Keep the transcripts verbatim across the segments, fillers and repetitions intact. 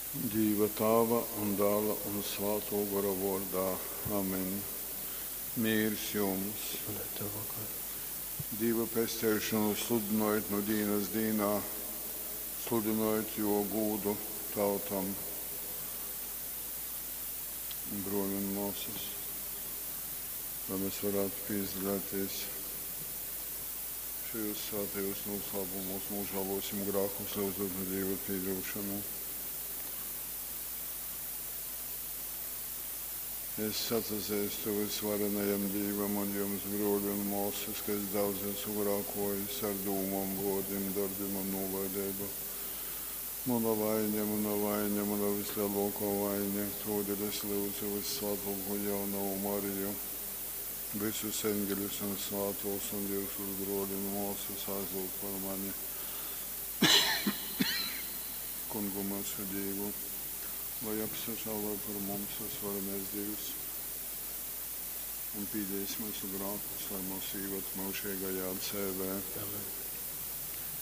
Dīva Tāva un Dāla un Svātō Gora vōrdā. Amen. Mīrs jums! Un ar tavu goru. Dīva pesteišonu sludynojit nu dīnas dīnā, sludynojit jō gūdu tautom. Brōļi un mōsas, lai mēs varētu pīzdalēties šajos svētajos noslēpumos, nožēlosim grēkus, lyudzot no Dieva piedošanu. Es atzīstu visvarenajam Dievam un jums, brōļi un māsas, ka es daudz esmu grēkojis ar dūmām, vārdiem, darbiem un nolaidību. Mana vaina, mana vaina, mana vislielākā vaina, todēļ es lūdzu vissvētāko jaunavu Mariju, visus eņģeļus un svētos un jūsus brōļi un māsas aizlūgt par mani. Kungu mūsu Dievu, lai apsažālo par mums visvarenais Dievs un pīdēs mūsu grēkus, lai mūs īved mūžīgajā dzīvē. Amen.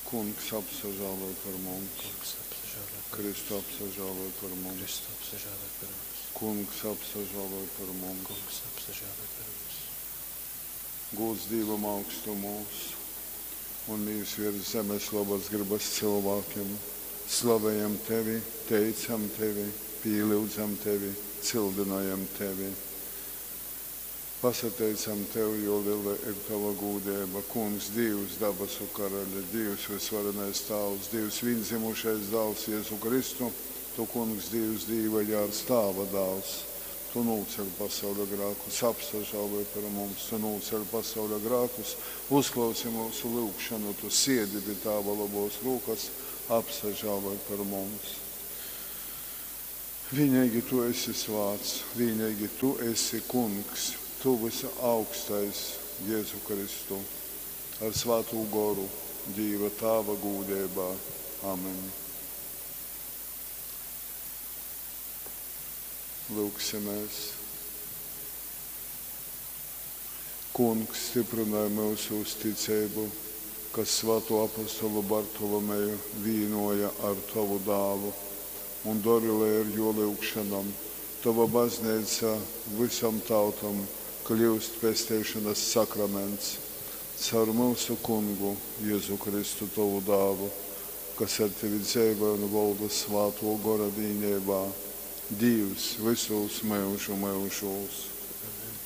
Kungs apsažālo par mums, Kungs apsažālo par Kristu apsažālo par mums, Kristu apsažālo par mums. Kungs apsažālo par mums, Kungs apsažālo par mums. Gūds Dievam augstumos un mīrs virs zemes labas gribas cilvēkiem. Slavējam tevi, teicam tevi, pīlyudzam tevi, cildinājam tevi. Pasateicam tev, jo liela ir tava gūdība. Kungs, Dievs, dabasu karaļa, Dievs, visvarenais Tāvs, Dievs, vienzimušais dāls Jēzu Kristu, tu, Kungs, Dievs, Dieva jārs, Tāva dāls. Tu nūceļ pasaules grēkus, apsažāloj par mums, tu nūceļ pasaules grēkus, uzklausi mūsu lūgšanu, tu siedi pie Tāva labos rūkas, apsažāloj par mums. Vienīgi tu esi svāts, vienīgi tu esi kungs, tu visa augstais Jēzu Kristu, ar svātū goru, Dieva Tāva gūdībā. Amen. Lūksimies. Kungs stiprināja mūsu uzticību, kas svāto apostolu Bartolomeju vīnoja ar tavu dālu un dori, lai ar jo lūgšanām tava baznīca visam tautam kļūst pestīšanas sakraments caur mūsu kungu Jēzu Kristu tavu dālu, kas ar tevi dzīvo un valda svāto gora vienībā, Dievs visos mūžu mūžos.